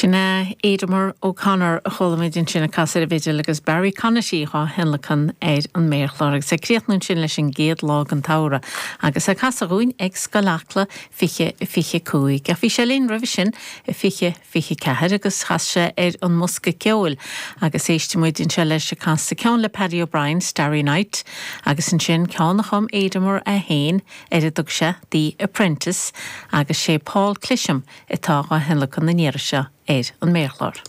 Sin é Aidemer O'Connor a chuala muid ansin ag casadh ar an bhfidil agus Barry Conaty dhá thionlacan ar an méarchlár agus ag críochnú ansin leis an gcéad lá den tsamhradh agus é casadh dhúinn ag Scoil Acla 20 25. Ach bhí sé linn roimhe sin i 20 24 agus chas sé ar an mbosca ceoil agus éistfidh muid anseo leis ag casadh ceann le Paddy O'Brien, Starry Night agus ansin ceann a chum Aidemer é féin ar a dtug sé The Apprentice agus sé Paul Clisham atá dhá thionlacan an iarraidh seo ar an méarchlár.